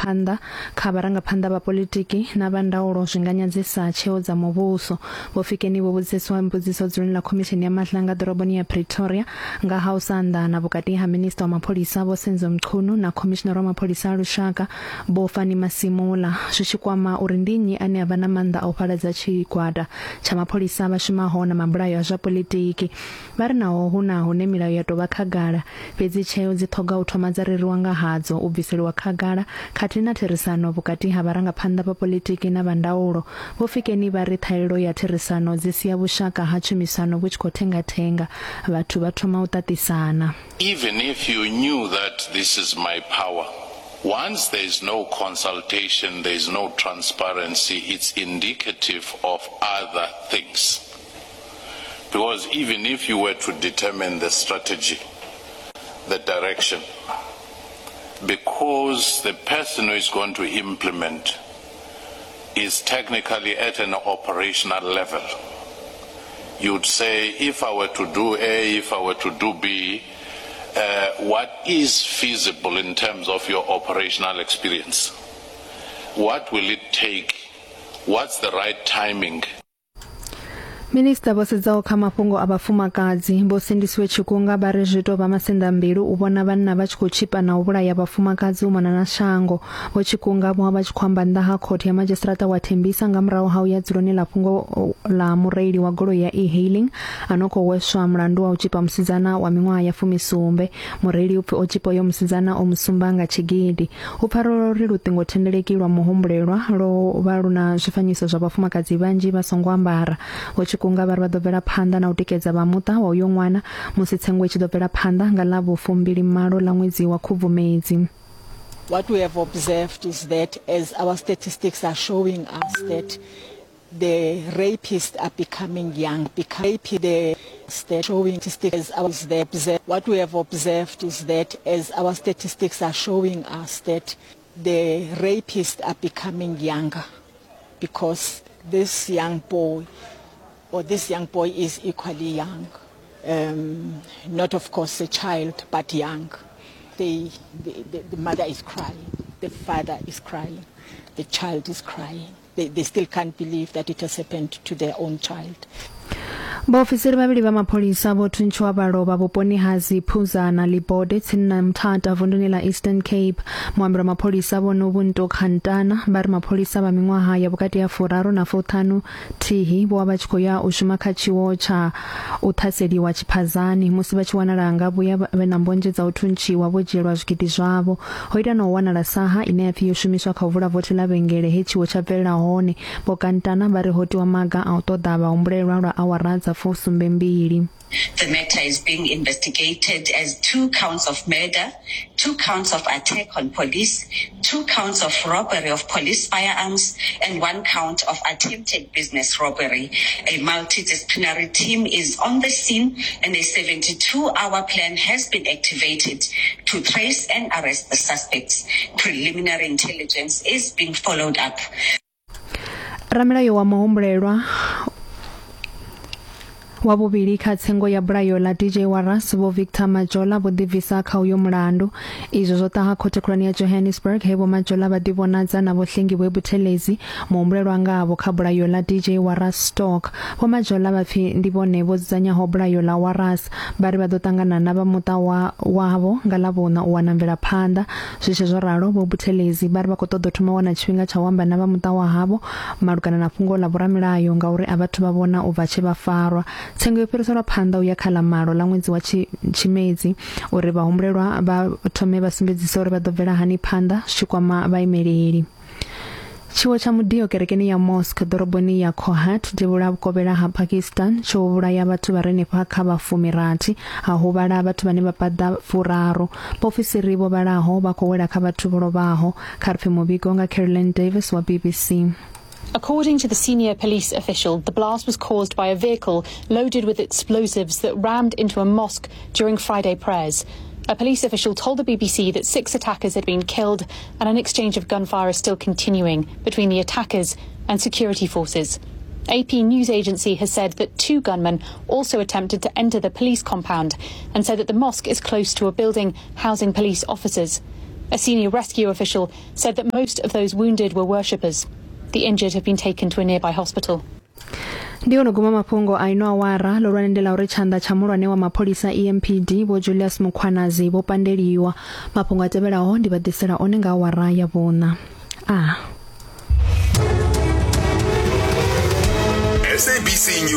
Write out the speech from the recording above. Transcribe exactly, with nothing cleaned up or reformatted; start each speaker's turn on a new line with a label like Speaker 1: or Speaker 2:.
Speaker 1: mvelaphanḓa kha vharangaphanḓa vha politiki na vha ndaulo zwi nga nyadzisa tsheo dza muvhuso. Vho Fikeni vho vhudziswa mbudziso dzuloni ḽa Khomishini ya Madlanga ḓoroboni ya Pretoria nga ha u sa anḓana vhukati ha Minista wa Mapholisa Vho Senzo Mchunu na Khomishinari wa Mapholisa a Lushaka Vho Fannie Masemola, zwi tshi kwama uri ndi nnyi ane a vha na maanḓa a u fhaladza tshigwada tsha mapholisa vha shumaho na mabulayo a zwa politiki. Vha ri naho hu na hune milayo ya tou vha khagala, fhedzi tsheo dzi ṱhoga u thoma dza reriwa nga hadzo, u bviseliwa khagala khathihi na therisano vhukati ha vharangaphanḓa vha politiki na vha ndaulo. Vho Fikeni vha ri ṱhahelelo ya therisano dzi sia vhushaka ha tshumisano vhu tshi khou thengathenga, vhathu vha thoma u ṱaṱisana.
Speaker 2: Even if you knew that this is my power, once there is no consultation, there is no transparency, it's indicative of other things. Because even if you were to determine the strategy, the direction, because the person who is going to implement is technically at an operational level, you'd say, if I were to do A, if I were to do B, uh, what is feasible in terms of your operational experience? What will it take? What's the right timing?
Speaker 1: Minista vho sedzaho kha mafhungo a vhafumakadzi Vho Sindisiwe Chikunga vha ri zwi tou vha masenḓambilu u vhona vhanna vha tshi khou tshipa na u vhulaya vhafumakadzi u mona na shango. Vho Chikunga vho vha tshi khou amba nnḓa ha khothe ya madzhisiṱiraṱa wa Tembisa nga murahu ha u ya dzuloni ḽa fhungo ḽa mureili wa goloi ya e-hailing a no khou hweswa mulandu wa u tshipa musidzana wa miṅwaha ya fumisumbe. Mureili u pfi o tshipa uyo musidzana o musumba nga tshigidi. Hu pfala uri luṱingothendeleki lwa muhumbulelwa lwo vha lu na zwifanyiso zwa vhafumakadzi vhanzhi vha songo ambara. Vho Chikunga vha ri vha ḓo bvela phanḓa na u tikedza vha muṱa wa uyo ṅwana musi tsengo i tshi ḓo bvela phanḓa nga ḽa vhufumbili malo ḽa ṅwedzi wa Khubvumedzi.
Speaker 3: What we have observed is that as our statistics are showing us that the rapists are becoming young, becoming the showing statistics as the what we have observed is that as our statistics are showing us that the rapists are becoming younger, because this young boy or this young boy is equally young, um, not of course a child, but young. They, the, the, the mother is crying, the father is crying, the child is crying. They, they still can't believe that it has happened to their own child.
Speaker 1: Vhaofisiri vhavhili vha mapholisa vho thuntshiwa vha lovha vhuponi ha Ziphuza na Libode tsini na Mthatha vunduni ḽa Eastern Cape. Muambeli wa mapholisa Vho Nobuntu Khantana vha ri mapholisa vha miṅwaha ya vhukati ha furaru na fuṱhanu thihi vho vha vha tshi khou ya u shuma kha tshiwo tsha u ṱhaseliwa tshiphazani musi vha tshi wanala nga vhuya vhe na mbonzhe dza u thuntshiwa vho dzhielwa zwigidi zwavho. Ho ita na u wanala saha ine ya pfi yo shumiswa kha u vula vothi ḽa vhengele he tshiwo tsha bvelela hone. Vho Khantana vha ri ho tiwa maga a u ṱoḓa vhahumbulelwa lwa awara dza fusumbembili.
Speaker 4: The matter is being investigated as two counts of murder, two counts of attack on police, two counts of robbery of police firearms, and one count of attempted business robbery. A multidisciplinary team is on the scene and a seventy-two hour plan has been activated to trace and arrest the suspects. Preliminary intelligence is being followed up.
Speaker 1: Ramilayo wa muhumbulelwa wa vhuvhili kha tsengo ya bulayo ḽa D J Warras Vho Victor Majola vho ḓibvisa kha uyo mulandu. Izwo zwo ṱaha khothe khulwane ya Johannesburg he Vho Majola vha ḓivhonadza na Vho Hlengiwe Buthelezi muhumbulelwa ngavho kha bulayo ḽa D J Warras Stock. Vho Majola vha pfi ndi vhone vho dzudzanyaho bulayo ḽa Warras, vha ri vha ḓo ṱangana na vha muṱa wa wavho nga ḽavhuṋa u wana mvelaphanḓa. Zwi tshi zwo ralo, Vho Buthelezi vha ri vha khou ṱoḓa u thoma wana tshifhinga tsha u amba na vha muṱa wa havho malugana na fhungo ḽa vhoramilayo ngauri a vhathu vha vhona u bva tshe vha farwa. Tsengo yo fhiriselwa phanḓa u ya kha ḽa malo ḽa ṅwedzi wa Tshimedzi uri vhahumbulelwa vha thome vha sumbedzise uri vha ḓo bvela hani phanḓa zwi tshi kwama vhaimeleli. Tshiwo tsha mudio kerekeni ya mosque ḓoroboni ya Kohat devhula vhukovhela ha Pakistan tsho vhulaya vhathu vha re henefha kha vha fumirathi, ha huvhala vhathu vhane vha paḓa furaru. Vhaofisiri vho vhalaho vha khou wela kha vhathu vho lovhaho. Kha ri pfe muvhigo nga Caroline Davis wa B B C.
Speaker 5: According to the senior police official, the blast was caused by a vehicle loaded with explosives that rammed into a mosque during Friday prayers. A police official told the B B C that six attackers had been killed and an exchange of gunfire is still continuing between the attackers and security forces. A P News Agency has said that two gunmen also attempted to enter the police compound and said that the mosque is close to a building housing police officers. A senior rescue official said that most of those wounded were worshippers. The injured have been taken to a nearby hospital.
Speaker 1: Ndi ono guma mafhungo a ino awara ḽo ndi ḽa uri tshanḓa tsha muhulwane wa mapholisa E M P D Vho Julius Mkhwanazi vho pandeliwa. Mafhungo a tevhelaho ndi vha ḓisela one nga awara ya vhuṋa. A
Speaker 6: S A B C News.